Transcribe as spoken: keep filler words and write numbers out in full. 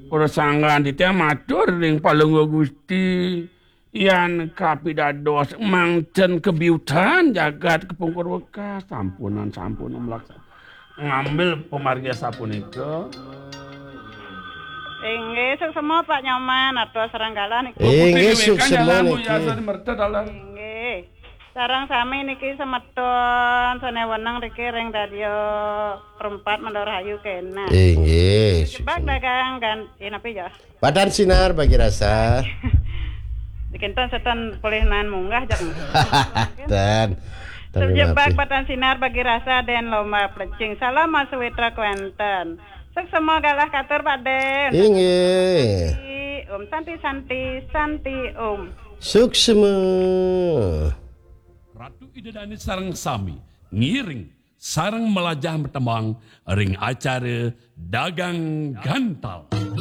Para sanggan titiang matur ring Palungguh Gusti, yan kapidados mangcen kebiutan jagat kepungkur wekas. Sampunan, sampun melaksana. Ngambil pamargi sapunika. Inggih, suksma Pak Nyoman, atur sareng galah niki. Inggih, suksma niki. Inggih. Sareng sami niki semeton sane weneng niki ring Radio Perempat Mendorahayu kena. Inggih, jebak suksma. Dagang gan-, eh, napi ya? Batan Sinar bagi rasa. Dikinten setan polih naen munggah jak. Dan. Terjebak batan sinar bagi rasa dan lomba plecing. Salam Mas Witra Quentin. Suksma galah katur Pak Den. Inggih. Om Santi, Santi, Santi Om. Suksma. Ratu Ida Dane sareng sami ngiring sareng melajah matembang ring acara Dagang Gantal.